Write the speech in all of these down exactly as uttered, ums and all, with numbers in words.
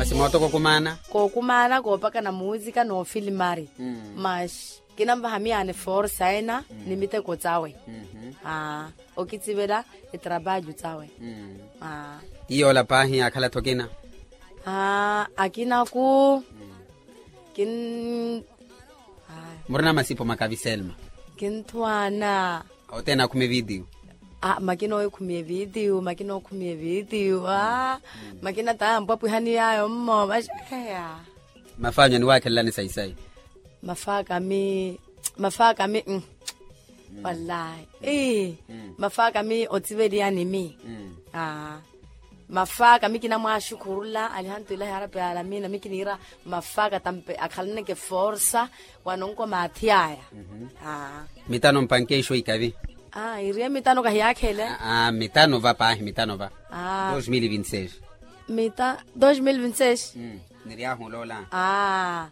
Simooto kookumaana. Kookumaana koopakana muusika noofilimari. Maxi kinanvaha miyaano eforsa ena ni miteko tsawe. Aa okitsivela etrabalho tsawe. Aa. Iyoola paahi akhala-tho kina. Aa akinaku kin. Murina masipo makavi selma. Kinthwaana. Othene akhumi evitiyu. Aa makina oyo khumi evitiyu makina okhumi evitiyu aa. Makina tayampwapwiha ni yayo mmo maxi eya. Mafaanyu aniwaakhelelani sayi-sayi. Mafaakami mafaakami. Wallahi ii. Mafaakami otsiveliyani mi. Aa. Mafaakami kinamwaaxukhurula alihantuilahi arapi alamina mi kiniira. Mafaaka tampe akhalaneke forsa. Wanonko maathi aya. Mitano mpanke ixo ikavi. Aa iriye mitano kahiyakhele. Mitano va paahi mitano va. Aa. Dos mil vinti seis. Mita dos mil vinti seis. Niryahu oloola. Aa.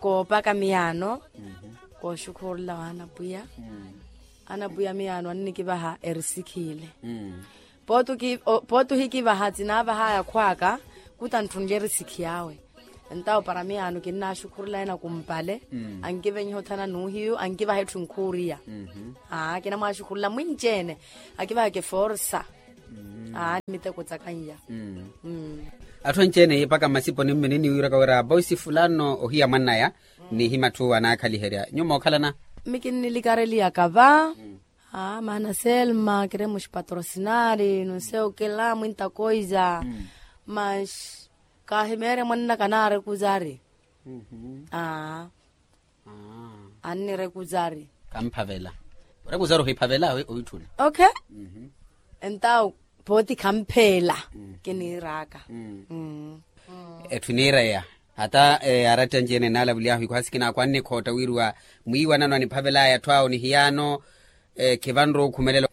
Koopaka miyaano. Kooxukhurula wa anapwiya. Anapwiya miyaano annikivaha erisikhi ile. Pooti ohikivaha tsinaavahaya akhw'aka. Kuta ntthunle erisikhi awe. Entawo para miyaano kinnaaxukhurula ena kumpale. Ankivenyiha othana n'uhiyu ankivaha etthu nkhuuriya. Aa kinamwaaxukhurula mwinci-ene. Akivahaka eforsa. Aa ni miteko tsakan'ya. Atthu anci-ene iipaka mmasiponi mme ninniwiiraka wira boisi fulano ohiya mwannaya. Nihima atthu anaakhaliherya nyuwo mookhalana. Mi kinnilikareliyaka va. Aa maana selma kiremos patrosinari nunseyo kila mwinta koiza. Mas kaahimeerya mwannaka naari ekuzari. Aa. Annira ekuzari. Kamphavela. Ora ekuzari ohiphavela. Oitthuna. Okay. Entawo pooti khampheela. Kiniiraka. Etthu iniireya hata aratti anci-ene enaalavuly'ahu ikuhasi kinaakwa annikhootta wiriwa mwiiwanano aniphavel'aya atthu awo ni hiyaano. Khivanre okhumelela.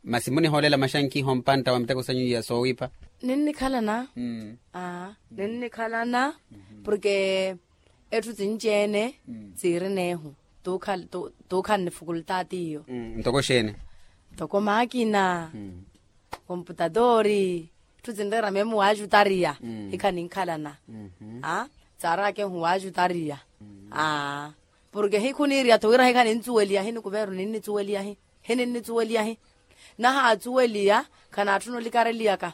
Masi munihoolela maxankiha ompantta wa miteko sanyu iya soowipha. Ninnikhalana. Aa ninnikhalana. Porke etthu sinci-ene siirin'ehu tuukhanne fukultaati iyo. Ntoko xeeni? Ntoko maakina. Komputatori. Etthu sinreera meemu waajutariya. Hikha ninkhalana. Aa saarakehu waajutariya. Aa porke hikhuniiriya-tho wira hikha nintsuweliya hi ni kuveru ninnitsuweliya hi. Hi ninnitsuweliya hi. Nahaatsuweliya khanaatthuna olikareliyaka.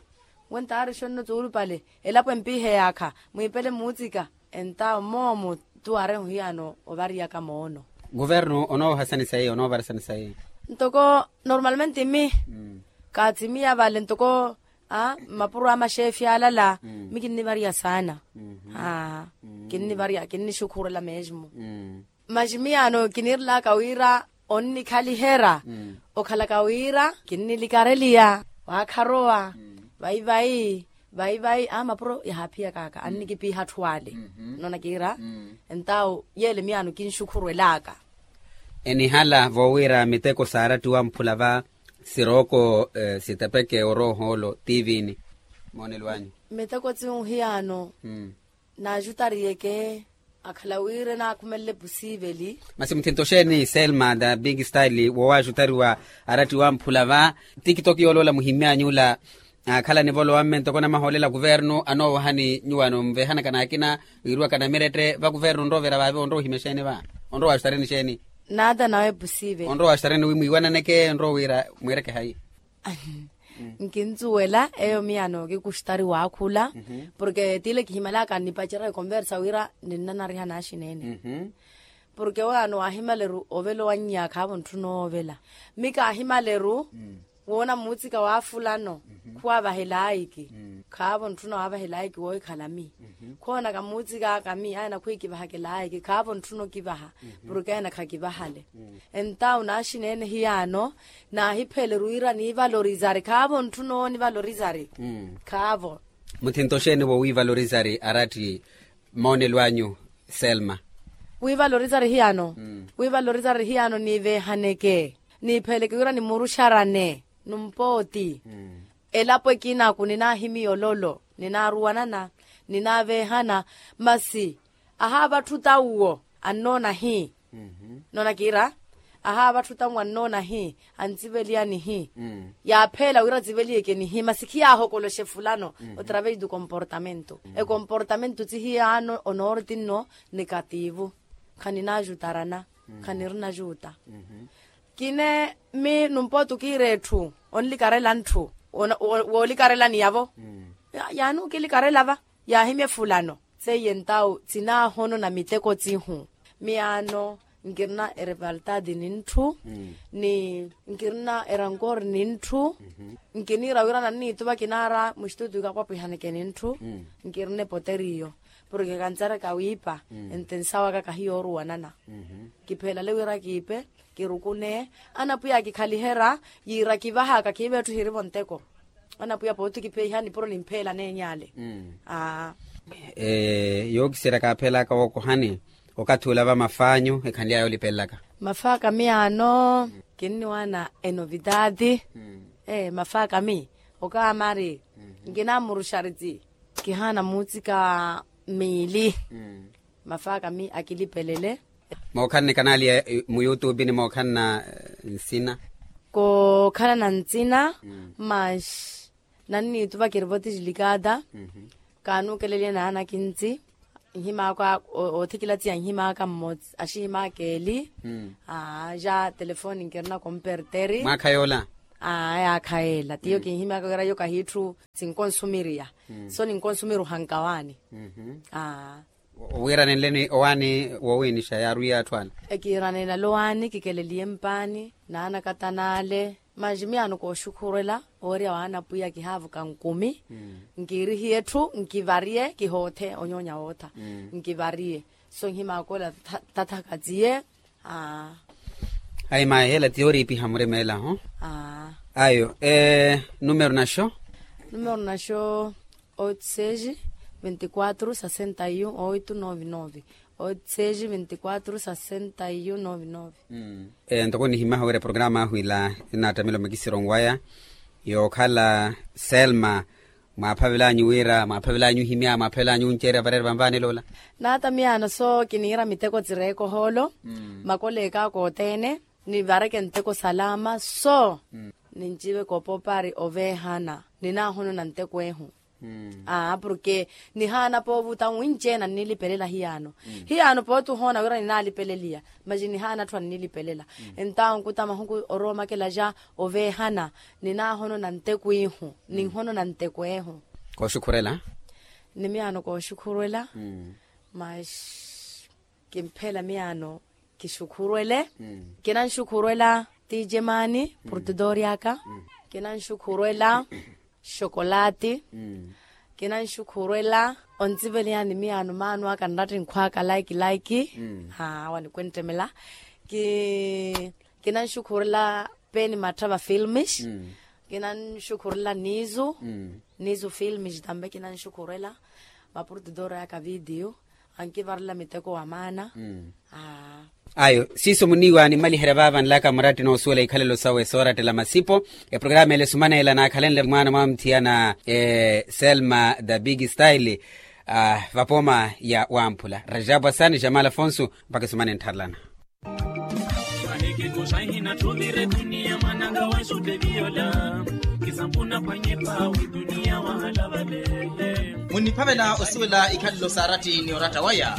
Wentaari xonno tsuulupale elapo empiihe yaakha mwiipele muutsika. Entawo moomo tuwaarehu hiyaano ovariyaka moono. Kuvernu onoovarisani sayi onoovarisani sayi? Ntoko normalmente mi kaatsimiya vale ntoko mmapuro a maxeefi alala. Mi kinnivariya saana. Kinnivariya kinnixukhurela mesmo. Maxi miyaano kiniirelaka wira onnikhaliherya okhalaka wira kinnilikareliya waakharowa. Vayi vayi vayi vayi a mapuro yahaaphiyak'aka annikipiiha atthu ale. Nnoona kiira entawo yeele miyaano kinxukhurwel'aka. Enihala voowira miteko saarattiwa mphula va sirooko sitepeke oroohoolo tiivini. Moonelo anyu? Miteko tsi ohiyaano naajutariyeke akhala wira enaakhumelele pusiiveli. Masi muthinto xeeni selma the big style woowaajutariwa arattiwa mphula va tiktok yooloola muhimmy'anyu ola. Aakhala nivolowa mme ntoko namahoolela kuvernu anoowahani nyuwo anonvehanaka n'akina wiiriwaka namirette va kuvernu onrowa ovira vaavi onrowa ohimya xeeni va? Onrowa waaxutareni xeeni? Naata nawe pusiiveli onrowa waaxutareni wi mwiiwananeke onrowa wira mwiireke hayi? Nkintsuwela eyo miyaano kikuxutari waakhula. Porke tile kihimalaka nnipacerya ekonversa wira ninnanariha naaxineene. Porke oyaano waahimaleru ovela owannya khaavo ntthuna oovela. Mi kaahimaleru woona muutsika waafulano khuwaavahelaayiki. Khaavo ntthuna waavahelaayiki woohikhala mi. Khoonaka muutsikaaka mi aya nakhwiikivahakelaayiki khaavo ntthuna okivaha. Porke aya nakhakivahale. Entawo naaxineene hiyaano naahipheleru wira niivalorizari khaavo ntthuna oonivalorizari. Khaavo. Muthinto xeeni wowiivalorizari aratti? Moonelo anyu selma. Wiivalorizari hiyaano. Wiivalorizari hiyaano niiveehaneke niipheleke wira nimuruxarane numpooti. Elapo ekinaku ninaahimiya ololo ninaaruwanana ninaaveehana. Masi ahaava atthu tawuwo annoona hi? Nnoona kiira Ahaava atthu tanwannoona hi, antsiveliya nihi. Yaapheela wira atsiveliyeke nihi masi khiyaahokoloshe fulano. Otraves do comportamento, ekomportamento tsihiyaano onorti nno, negativo. Khaninaajutarana, khanirinajuta. Kine mi numpooti okiira etthu, onlikarela ntthu, woolikarelani yavo. Yaani okilikarela va, yaahimye fulano. Seiye ntawu tsinaahono na miteko tsihu. Miyaano, nkirina erevaltadi ni ntthu, ni nkirina erankori ni ntthu. Nkiniira wira nanniituva kinaara mustutu ikapwapwihaneke ni ntthu. Nkirina epoteriyo, porke kantsaraka wiipa. Ente nsawa aka kahiyooruwanana. Kiphelale wira kiipe, kirukune, anapwiya akikhaliherya, yiira kivahaka khiive etthu hirivo nteko. Anapwiya pooti kipeihani puro nimpheela neeny'ale. Aa. Yookiseryaka aphelaka wookohani, okathi ula va maf'anyu ekhanly'aya olipelelaka? Maf'aka miyaano, kinniwaana enovidadi. Maf'aka mi okaamari, nkinamuruxaritsi, kihaana muutsika miili. Maf'aka mi akilipelele. Mookhalana kanaaliya mu youtube ni mookhalana nsina? Kookhalana nsina. Mas nanniituva kirivotijilikata. Kaanuukeleliye naana kintsi, nhim'aka oothikilatsiya nhim'aka mmotsi axihim'aka eli. Aa ja telefoni nkirina komperteri. Mwaakha yoola? Aa yaakha yeela tiyo kinhim'aka wira yo kahiitthu, sinkonsumiriya. So ninkonsumiri ohankawaani. Aa. Wiiranenleni owaani woowiinixa yaarwiya atthu ala? Ekiiranenla owaani kikeleliye mpaani, naanakatana ale. Manji miyaano kooxukhurwela, ooriya waana pwiya kihaavuka nkumi. Nkiirihiye etthu nkivariye kihoothe onyoonya wootha. Nkivariye. So nhim'aka ola tathakatsiye. Aa. Ayi mayi hela tiyo oriipiha murimeela ho. Aa. Ayo. Numero naxo? Numero naxo, oito seis, vinte quatro sessenta e um oito nove nove. Oito seis, vinte quatro sessenta e um nove nove. Ntoko nihimaha wira eprograma ahu ila, enattamela omikisiro nwaya yookhala selma. Mwaaphavel'anyu wira mwaaphavel'anyu ohimya mwaaphavel'anyu onceerya vareera vanvaanela ola? Naata miyaano so kiniira miteko tsireeka ohoolo. Makoleek'aka othene, nivareke nteko salama so. Ninciveke opopari oveehana, ninaahonona nteko ehu. Aa porke nihaana poovuta nwinci-ene annilipelela hiyaano. Hiyaano pooti ohoona wira ninaalipeleliya, masi nihaana atthu annilipelela. Entawo nkuta mahuku oroomakela ja oveehana, ninaahonona nteko ihu, ninhonona nteko ehu. Kooxukhurela? Ni miyaano kooxukhurwela. Mas kimpheela miyaano kixukhurwele. Kinanxukhurwela tijemani portidori aka. Kinanxukhurwela xokolati. Kinanxukhurwela ontsiveleyani miyaano maano aka nratti nkhw'aka laiki laiki. Aa wanikwenttemela. Kinanxukhurwela peni matthava filmis. Kinanxukhurwela nizu. Nizu filmis tambe kinanxukhurwela. Maportidori aka vidiyo ankivarela miteko wa maana. Ayo siiso muniiwa nimmaliherya vaava nlaka muratti noosuwela ikhalelo sawe soorattela masipo. Eprograma ele esumaneela naakhalenle mwaana mwa muthiana selma the big style, vapooma ya wamphula rajabu asani jamal afonso. Mpakha esumane nttharelana. Mahikiku saihina tthuvire duniya mwananga wesutteviyola. Kisampuna pwanyepa wi duniya wahala vale. Munniphavela osuwela ikhalelo saaratti ni oratta waya.